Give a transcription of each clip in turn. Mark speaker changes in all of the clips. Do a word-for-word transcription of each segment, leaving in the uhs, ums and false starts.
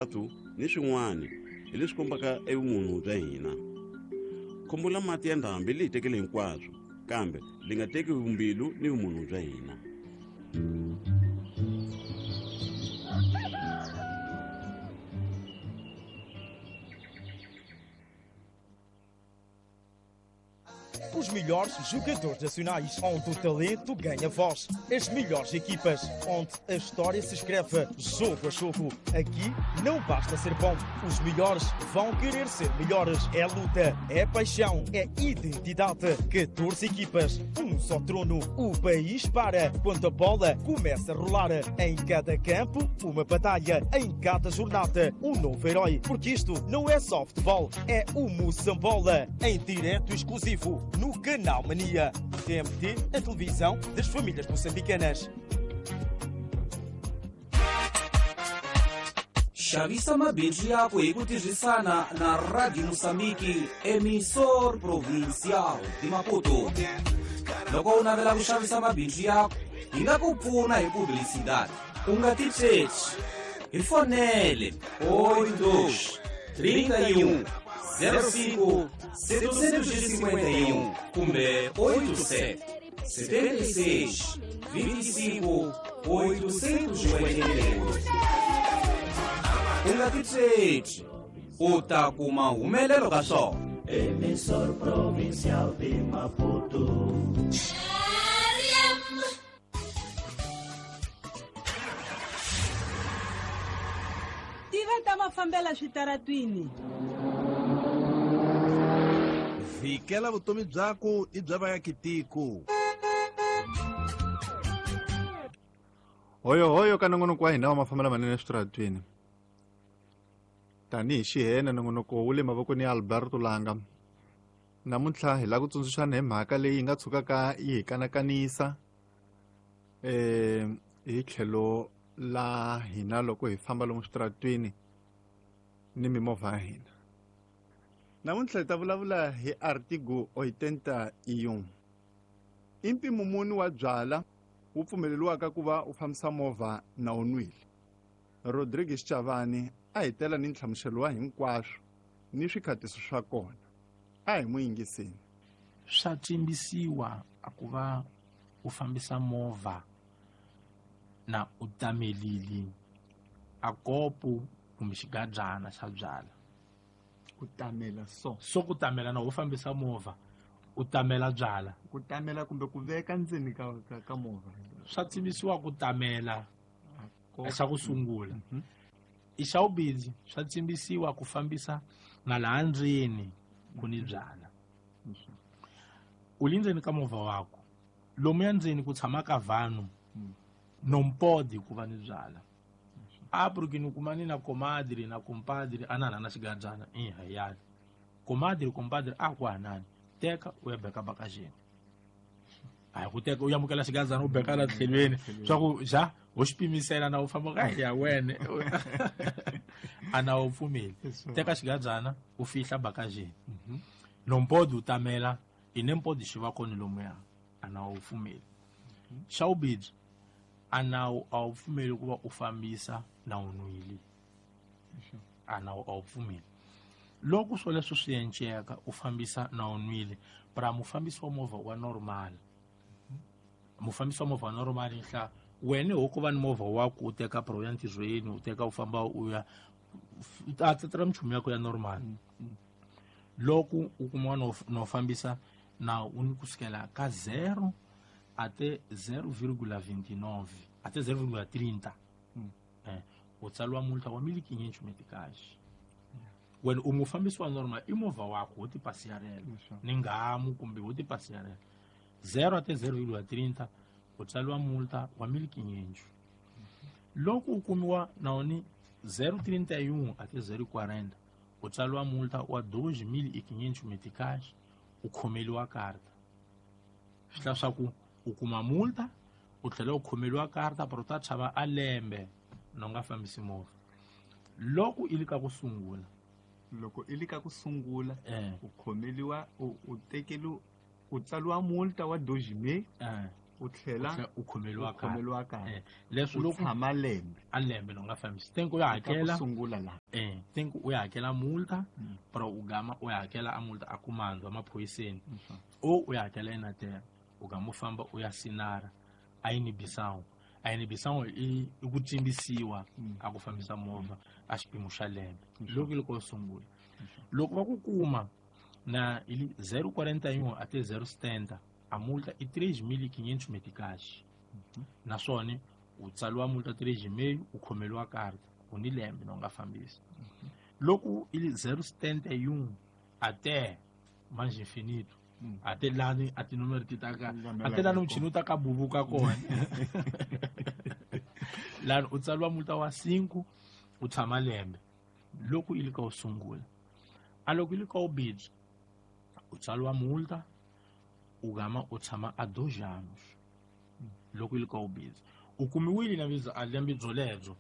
Speaker 1: Ni swin'wana hi leswi kombaka evumunhu bya hina. Khombo la mati ya ndhambi li hi tekele hinkwaswo, kambe li nga teki vumbilu ni vumunhu bya hina.
Speaker 2: Os melhores jogadores nacionais, onde o talento ganha voz. As melhores equipas, onde a história se escreve jogo a jogo. Aqui não basta ser bom, os melhores vão querer ser melhores. É luta, é paixão, é identidade. catorze equipas, um só trono. O país para quando a bola começa a rolar. Em cada campo, uma batalha. Em cada jornada, um novo herói. Porque isto não é só futebol, é o Moçambola. Em direto exclusivo no Canal Mania. T M T, a televisão das famílias moçambicanas.
Speaker 3: Xavisa mabindzu yako hi ku tirhisana na Radio Moçambique, emissor provincial de Maputo. Loko u navela ku xavisa mabindzu yako, hi nga ku pfuna hi publicidade. U nga tichechi. Hi fonele oito dois, trinta e um, zero cinco, setecentos e cinquenta e um kumbe oito sete, setenta e seis, vinte e cinco, oitocentos e oitenta e oito. U nga tichechi, u ta kuma humelelo ka swona.
Speaker 4: Emissor provincial de Maputo.
Speaker 5: Tiva ta mafambela switaratwini.
Speaker 6: Vikela vutomi byako i bya vaakitiko.
Speaker 7: Hoyo hoyo ka nongonoko wa hina wa mafambelo manene eswitaratwini. Tanihi xihene nongonoko wu le mavokweni ya Alberto Langa. Namuntlha hi lava ku tsundzuxana hi mhaka leyi yi nga tshukaka yi hi kanakanisa eh hi tlhelo la hina loko hi famba lomu switaratwini ni mimovha ya hina. Namuntlha hi ta vulavula hi artigo oitenta e um. I mpimo muni wa byala wu pfumeleriwaka ku va u fambisa movha na u nwile. Rodrigues Chavani a hi tela ni nhlamuselo wa hinkwaswo ni swikhatiso swa kona. A hi n'wi yingiseni.
Speaker 8: Swa tsimbisiwa a ku va u fambisa movha na u tamelile a kopo kumbe xigadyana xa byala.
Speaker 7: Ku tamela so.
Speaker 8: So ku tamela na u fambisa movha u tamela byala.
Speaker 7: Ku tamela kumbe ku veka ndzeni ka ka, ka movha.
Speaker 8: Swa tsimbisiwa ku tamela xa ku sungula. I xa vumbirhi swa tsimbisiwa ku fambisa na laha ndzeni ku ni byala. U le ndzeni ka movha wako lomuya ndzeni ku tshama ka vanhu non pode ku va ni byala. A porque ni kuma ni na comadre na compadre anana na xigadyana i hayani. Comadre compadre a ku hanani teka u ya beka bakajeni. A ku teka u yamukela xigadyana u beka la tlhelweni swa ku ja u xi pimisela na u famba ka ya wena. A na u pfumeli. Teka xigadyana u fihla bakajeni. Non pode u tamela i nem pode xi va kona lomuya a na u pfumeli. Xa vumbirhi a na a wu pfumeli ku va u fambisa na u nwile. A na a wu pfumeli. Loko swoleswo swi enceka u fambisa na u nwile, para mufambisi wa movha wa normal. Mufambisi wa movha wa normal nhla wena ho ku va ni movha wa ku u teka pro ya ntirhweni u teka u famba u ya a tsetela minchumu ya ku ya normal. Loko u kuma no no fambisa na u ni kusukela ka zero até zero vírgula vinte e nove, até zero vírgula trinta. Eh, u tsaliwa multa wa mil e quinhentos meticais. Wena u mufambisi wa normal i movha wakho wo tipasiyarela. Ni ngamu kumbe wo tipasiyarela. zero até zero vírgula trinta u tsaliwa multa wa mil e quinhentos. Loko u kumiwa na woni zero vírgula trinta e um até zero vírgula quarenta u tsaliwa multa wa dois mil e quinhentos meticais, u khomeliwa karta. Swi hla swa ku u kuma multa u tlhela u khomeliwa karta pero u ta tshama a lembe na u nga fambisi movha. Loko i li ka ku sungula,
Speaker 7: loko i li ka ku sungula
Speaker 8: eh
Speaker 7: u khomeliwa u u tekeli u tsaliwa multa wa dois mil
Speaker 8: eh
Speaker 7: U tlhela
Speaker 8: u khomeliwa
Speaker 7: ka
Speaker 8: eh leswi loko
Speaker 7: tshama lembe
Speaker 8: a lembe no nga fambisi tenku u ya hakela
Speaker 7: sungula la
Speaker 8: eh tenku u ya hakela multa pero u gama u ya hakela a multa a kumandwa maphoyiseni o u ya hakela enatel u gama u famba u ya sinara a inibisawu a inibisawu i ku tsimbisiwa a ku fambisa movha a xipimo xa lembe loko loko sungula loko va ku kuma na ili zero quarenta e um até zero setenta a multa é três mil e quinhentos meticais. Mm-hmm. Naswona u tsaliwa multa três e meio u khomeliwa karta u ni lembe no nga fambisi. Mm-hmm. Loko ili zero setenta e um até mais infinito mm. até lá até número ti ta ka até lá muchini u ta ka bubuka kona la u tsaliwa multa wa cinco u tshama lembe loko ili ka u sungula a loko ili ka u bidzi u tsaliwa multa u gama u tshama a dois anos loko ili ka u bidzi u kumiwile na biza a lembe byolebyo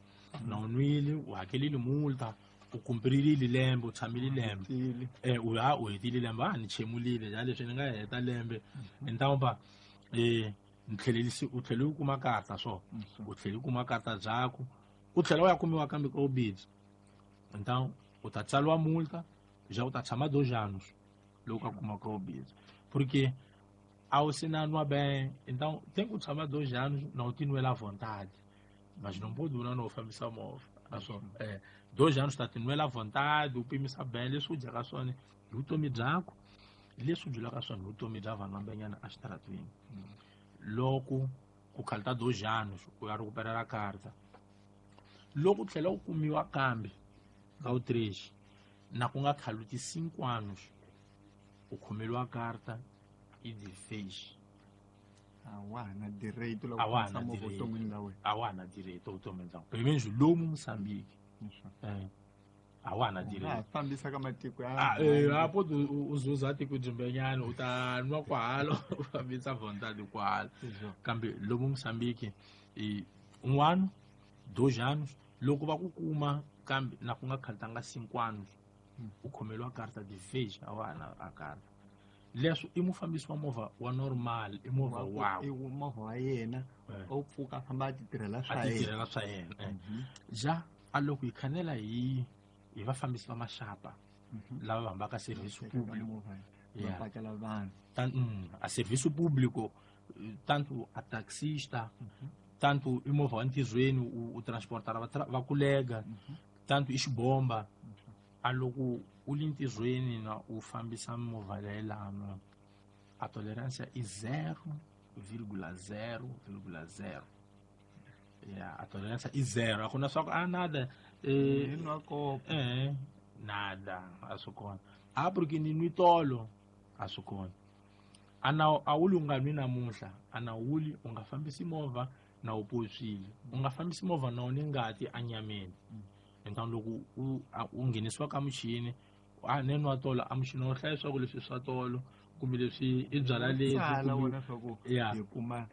Speaker 8: na u nwile u hakelile multa u kumpirile lembe u tshamile lembe eh u ha u hetile lembe a ni chemulile ya leswi ni nga heta lembe ntamba eh ni tlhelelisi u tlhele u kuma karta so u tlhele u kuma karta byaku u tlhela u ya kumiwa kambe ka u bidzi então u ta tsaliwa multa já u ta tshama dois anos loko a kuma ka u bidzi porque ao se nwa bem então tem que tshama dois anos não te nwela à vontade mas não pode durar no fambisa movha aso eh dois anos tá te nwela à vontade u pimisa bem leswi u dyaka swona hi vutomi byakho leswi u byulaka swona hi vutomi bya vanhu vambenyana exitaratweni loko ku khalta dois anos u ya recuperar karta loko u tlhela u kumiwa kambe ka u três na ku nga khaluti cinco anos u khomeliwa karta e de vez
Speaker 7: a wa na direito la ku fambisa movha vuton'wini bya wena
Speaker 8: a wa na direito vuton'wini bya pelo menos lomu Moçambique eh a wa na direito
Speaker 7: fambisa ka matiko ya
Speaker 8: eh a pode u zuza tiko dzimbenyana u ta nwa kwalo u fambisa vontade kwalo kambe lomu Moçambique e um ano dois anos loko va ku kuma kambe na ku nga khaltanga cinco anos u khomeliwa karta de vez a wa na a karta leswi i mufambisi wa movha wa normal i movha wa
Speaker 7: i movha wa yena u pfuka famba a ti tirhela swa
Speaker 8: yena a ti tirhela swa yena ja a loko hi khanela hi hi vafambisi va maxapa lava va hambaka serviço público
Speaker 7: va pakela vanhu
Speaker 8: a serviço público tanto a taxista tanto i movha wa ntirhweni u transportara va kulega tanto i xibomba a loko u li ntirhweni na u fambisa movha leyilano a tolerância i zero vírgula zero vírgula zero ya a tolerância i zero a ku na swa ku a nada eh eh nada a swi kona a porque ni nwi tolo a swi kona a na a wuli u nga nwi namuntlha a na wuli u nga fambisi movha na u poswile u nga fambisi movha na u ni ngati anyameni então loko u u nghenisiwa ka muchini a ne nwa tolo a muchini wo hlaya swa ku leswi swa tolo kumbe leswi i byala lebyi
Speaker 7: ya hi kuma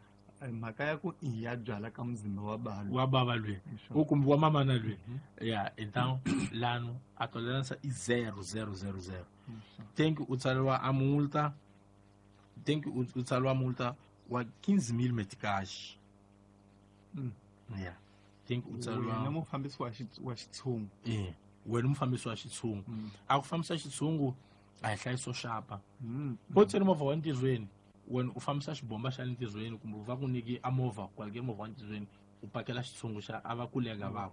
Speaker 7: mhaka ya ku i ya byala ka muzimba wa balo
Speaker 8: wa baba lwe u kumbe wa mama na lwe ya então lano a tolerância i zero zero zero zero tem que u tsariwa a multa tem que u tsariwa multa wa quinze mil meticais ya tem que u tsariwa
Speaker 7: wena mufambisi wa wa xitshungu
Speaker 8: eh wena mufambisi wa xitshungu a ku fambisa xitshungu a hi hlayiso xapa po tseri movha wa ntirhweni wena u fambisa xibomba xa le ntirhweni kumbe va ku nyiki a movha kwalike movha wa ntirhweni u pakela xitshungu xa a va kulega va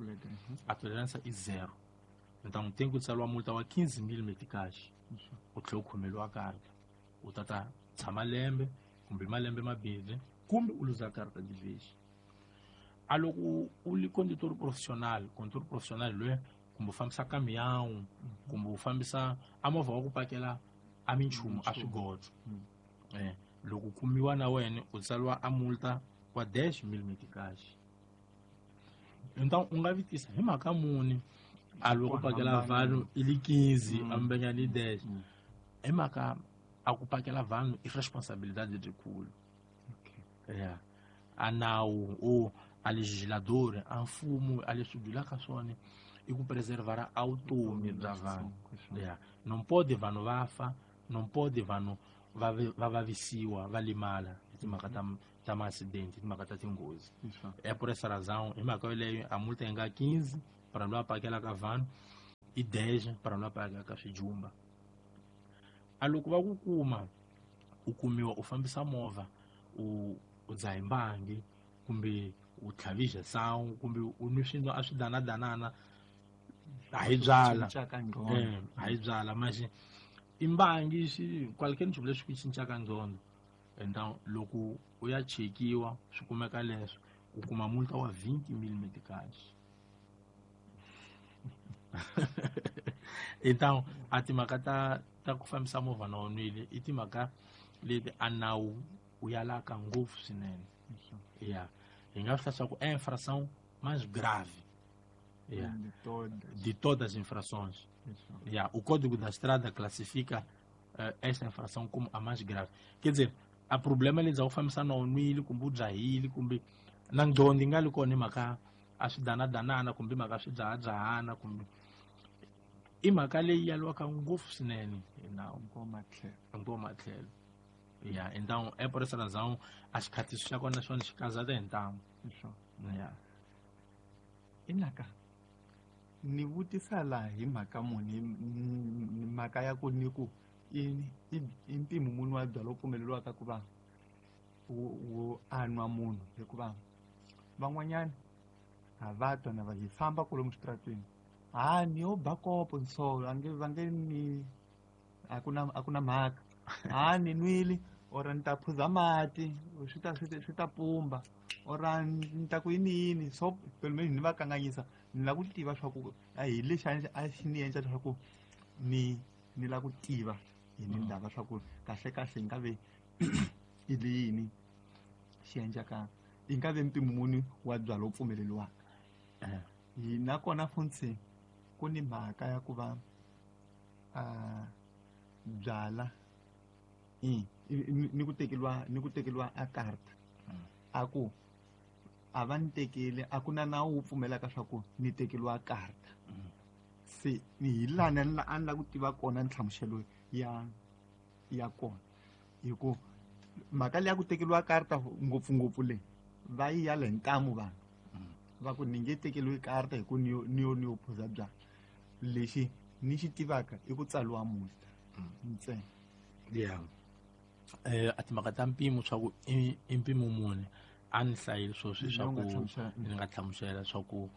Speaker 8: a tolerância i zero então tem que tsariwa multa wa quinze mil meticais u tlhela u khomeliwa karta u tata tshama lembe kumbe malembe mambirhi kumbe u luza karta de vez a loko u li condutor profissional condutor profissional loyi kumbe u fambisa caminhão kumbe u fambisa a movha wa ku pakela a minchumu a swigodzo eh loko kumiwa na wena u tsariwa a multa wa dez mil meticais então u nga vitisa hi mhaka muni a loko pakela vanhu i li quinze a mbenyani dez hi mhaka a ku pakela vanhu i responsabilidade lebyikulu ya a nawu o a legislador a mfumo a leswi byulaka swona i ku preservar a vutomi bya vanhu ya não pode vanhu va fa não pode vanhu va va vavisiwa va limala hi timhaka ta ta ma-acidente timhaka ta tinghozi. É por essa razão hi mhaka yoleyo a multa yi nga quinze para loyi a pakelaka vanhu i dez para loyi a pakelaka swijumba. A loko va ku kuma u kumiwa u fambisa movha u u dzaha mbangi kumbe u tlhavisa sangu kumbe u nwi swilo a swi danadanana a hi byala eh a hi byala manje i mbangi xi qualquer nchumu lexi ku cincaka nqondo. Então loko u ya chekiwa swi kumeka leswo u kuma multa wa vinte mil meticais. Então a timhaka ta ta ku fambisa movha na u nwile i timhaka leti a nawu u yalaka ngopfu swinene. Yeah. Hi nga swi hlaya ku é infração mais grave. Yeah.
Speaker 7: De todas.
Speaker 8: De todas as infrações. Yeah. O Código da Estrada classifica uh, esta infração como a mais grave. Quer dizer, a problema eles ao fambisa na nwile kumbe u dzahile kumbe na nqondo yi nga li kona hi mhaka a swi danadanana kumbe mhaka swi dzahadzahana kumbe i mhaka leyi yaliwaka ngopfu swinene hi nawu hinkwawo matlhelo. Yeah, então é por essa razão as khatiso xa kona xona xi kazata hi ntamu. Yeah.
Speaker 7: Inaka ni vutisa laha hi mhaka muni mhaka ya ku ni ku i i mpimo muni wa byalwa wu pfumeleriwaka ku va wu anwa munhu hikuva van'wanyana ha va twa na va hi famba kwalomu switaratweni ha ni yo ba kopo nsolo a nge va nge ni a ku na a ku na mhaka ha ni nwile or ni ta phuza mati swi ta swi ta pumba or ni ta ku yini yini so pelo menos ni va kanganyisa ni lava ku tiva swa ku a hi lexi a xi ni endla leswaku ni ni lava ku tiva hi ni ndava swa ku kahle kahle yi nga ve i yini xi endlaka yi nga ve mpimo muni wa byalwa wu pfumeleriwaka. Hi nakona funtsi ku ni mhaka ya ku va a byala i ni ku tekeriwa ni ku tekeriwa a karta a ku a va ni tekeli a ku na nawu wu pfumelaka swa ku ni tekeriwa karta. Se ni hi lani a ni lava ku tiva kona nhlamuselo ya ya kona hi ku mhaka leyi ya ku tekeriwa karta ngopfungopfu leyi va yi yala hi ntamu vanhu va ku ni nge tekeriwi karta hi ku ni yo ni yo ni yo phuza byala. Lexi ni xi tivaka i ku tsariwa multa ntsena.
Speaker 8: Yeah. Eh a timhaka ta mpimo swa ku i mpimo muni a ni hlayile sweswi swa ku ni nga hlamusela swa ku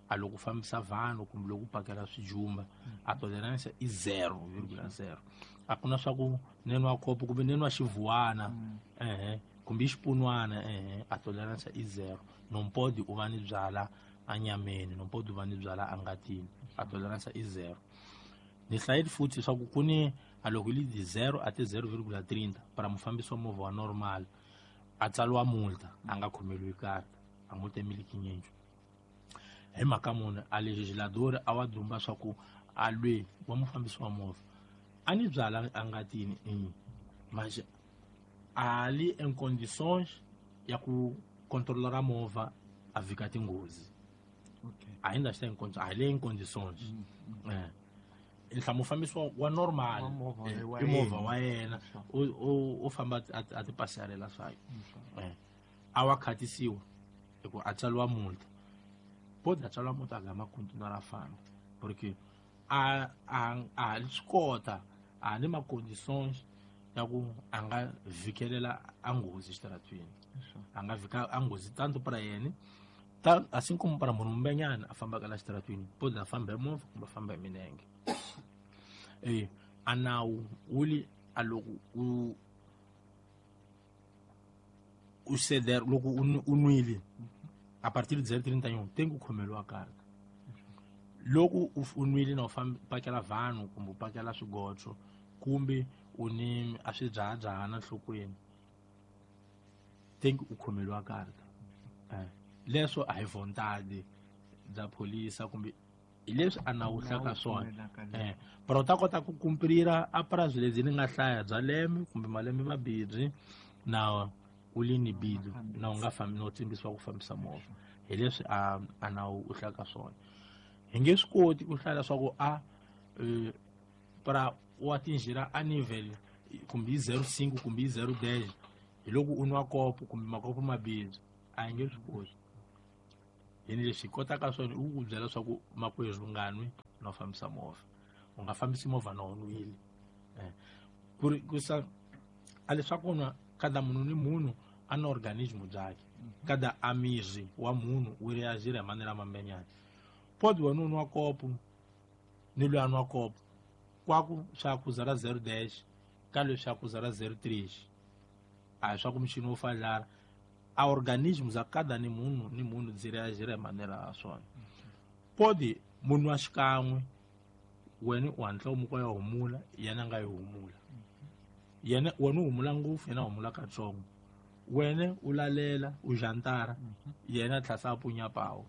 Speaker 8: a loko fambisa vanhu kumbe loko pakela swijumba a tolerance i zero virgula zero. A ku na swa ku ni nwa kopo kumbe ni nwa xivuwana ehe kumbe xipunwana ehe a tolerance i zero. Non pode u va ni byala anyameni, non pode u va ni byala angatini, a tolerance i zero. Ni hlayile futhi swa ku ku ni a loko yi li zero a ti zero virgula trinta para mufambisi wa movha wa normal a tsariwa multa a nga khomeriwi karta a multa i mil quinhentos. Hi mhaka muni a legislador a wa dumba swa ku a lwe wa mufambisi wa movha a ni byala angatini mas a li em condições ya ku controlar a movha a vika tinghozi.
Speaker 7: Okay.
Speaker 8: Ainda está em condições, ali em condições. É. Nhlamu mufambisi wa normal i movha wa yena u famba a ti pasarela swayo a wa khatisiwa hi ku a tsariwa multa pode a tsariwa multa a gama continuar a famba porque a a a swi kota a ni ma condições ya ku a nga vikelela a nghozi exitaratweni a nga vika a nghozi tanto para yena assim como para munhu mbenyana a fambaka la xitaratweni pode a famba hi movha kumbe a famba hi milenge. Eh a nawu wu li a loko u u ceder loko u nwile a partir de zero trinta e um tem ku khomeriwa karta. Loko u nwile na u famba pakela vanhu kumbe u pakela swigotsho kumbe u ni a swi dzahadzahana nhlokweni tem ku khomeriwa karta. Eh leswo a hi vontade bya pholisa kumbe hi leswi a nawu hlaka swona eh pero u ta kota ku kumprira a prazo lebyi ni nga hlaya bya lembe kumbe malembe mabirhi na u li ni bidu na u nga fambi no tsimbisiwa ku fambisa movha hi leswi a a nawu u hlaka swona. Hi nge swi koti ku hlaya leswaku a para u atingirá a nível kumbe zero cinco kumbe zero dez Hi loko u nwa kopo kumbe makopo mabirhi a hi nge swi koti. Yini leswi hi kotaka swona i ku ku byela swa ku makwerhu u nga nwi no fambisa movha, u nga fambisi movha na u nwile. Ku ri ku sa a leswaku nwa kada munhu ni munhu a na organismo byakhe, kada a miri wa munhu wu reagir hi manera mambenyana. Pode wena u nwa kopo ni loyi a nwa kopo kwaku swa ku zara zero dash ka leswi swa ku zara zero three, a hi swa ku muchini wo fadlara. A organismo za kada ni munhu ni munhu byi reagir hi manera ya swona. Pode munhu wa xikan'we wena u hatla u muka ya humula, yena a nga yi humula, yena wena u humula ngopfu, yena a humula katsongo, wena u lalela u jantara, yena a tlhasa a punya pawu,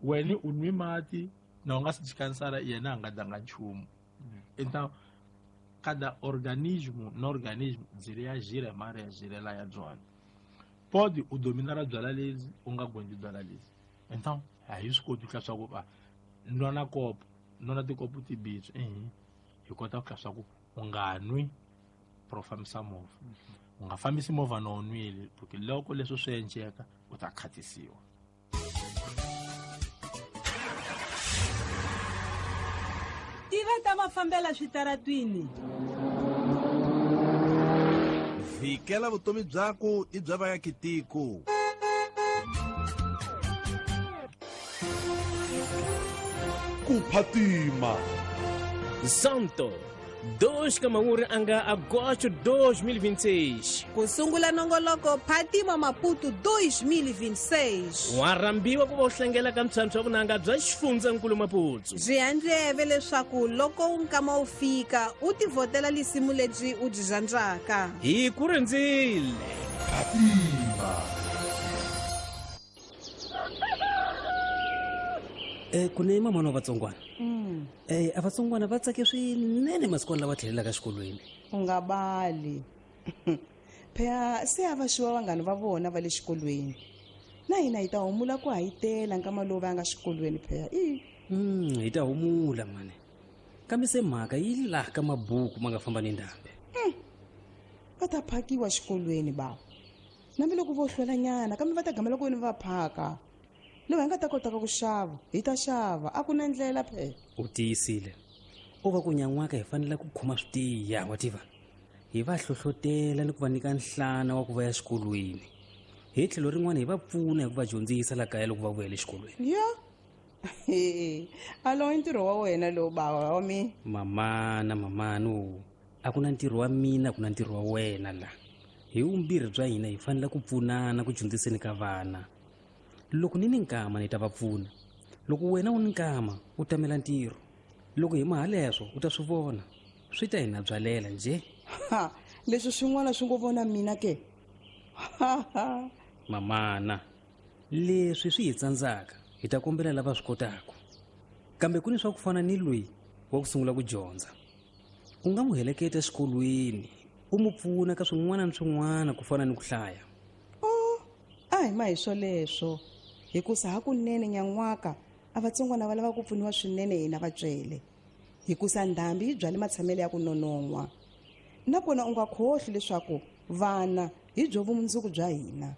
Speaker 8: wena u nwi mati na u nga si jikanisara, yena a nga danga nchumu. Então cada organismo na organismo byi reagir hi mareagirela ya byona. Pode u dominara byala lebyi u nga gondzi byala lebyi. Então a hi swi koti ku swa ku va nwa kopo nwa tikopo tibirhi, ehe hi kota ku swa ku u nga nwi pro fambisa movha, u nga fambisi movha na u nwile, porque loko leswi swi endleka u ta khatisiwa.
Speaker 5: Tiva ta mafambela switaratwini.
Speaker 6: Vikela vutomi byaku i bya vayakitiko.
Speaker 9: Ku phatima.
Speaker 10: Santo dois ka mawuri anga agosto dois mil e vinte e seis.
Speaker 11: Ku sungula nongoloko Phatima Maputo dois mil e vinte e seis.
Speaker 10: Wa rhambiwa ku va u hlangela ka ntlhantlho wa vunanga bya xifundzankulu Maputo.
Speaker 11: Byi handleve leswaku loko nkama wu fika u tivhotela lisimu lebyi u byi rhandzaka.
Speaker 10: Hi ku rindzile.
Speaker 9: Phatima.
Speaker 12: Eh ku ne mama wa vatsongwana. Mm. Eh a vatsongwana va tsake swinene masiku lawa tlhelelaka xikolweni.
Speaker 13: U nga bali. Phela se a va xiwa vanghana va vona va le xikolweni. Na hina hi ta humula ku hayitela nkama lowu va nga xikolweni phela. I.
Speaker 12: Mm, hi ta humula mane. Kambe se mhaka yi laha ka mabuku ma nga famba ni ndhambi.
Speaker 13: Mm. Va ta phakiwa xikolweni ba. Nambi loko vo hlwelanyana kambe va ta gamela ku va phaka. Lowu hi nga ta kotaka ku xava hi ta xava a ku na ndlela phela.
Speaker 12: U tiyisile. U va ku nyan'waka hi fanele ku khoma swi tiya wa tiva. Hi va hlohlotela ni ku va nyika nhlana wa ku va ya xikolweni. Hi tlhelo rin'wana hi va pfuna hi ku va dyondzisa la kaya loko va vuyela exikolweni.
Speaker 13: Ya. Alo i ntirho wa wena lowu bava wa mina.
Speaker 12: Mamana mamano, a ku na ntirho wa mina ku na ntirho wa wena la. Hi vumbirhi bya hina hi fanele ku pfunana ku dyondziseni ka vana. Loko ni ni nkama ni ta va pfuna. Loko wena u ni nkama u tamela ntirho. Loko hi mahaleswo u ta swi vona. Swi ta hina byalela nje.
Speaker 13: Ha, leswi swin'wana swi ngo vona mina ke. Ha ha.
Speaker 12: Mamana, leswi swi hi tsandzaka hi ta kombela lava swi kotaka. Kambe ku ni swa ku fana ni loyi wa ku sungula ku dyondza. U nga n'wi heleketa exikolweni, u n'wi pfuna ka swin'wana ni swin'wana ku fana ni ku hlaya.
Speaker 13: Oh, a hi ma hi swoleswo. Hikusa hakunene nyan'waka a vatsongwana va lava ku pfuniwa swinene hina vatswele. Hikusa ndhambi yi byale matshamelo ya ku nonon'hwa. Nakona u nga khohli leswaku vana hi byo vumundzuku bya hina.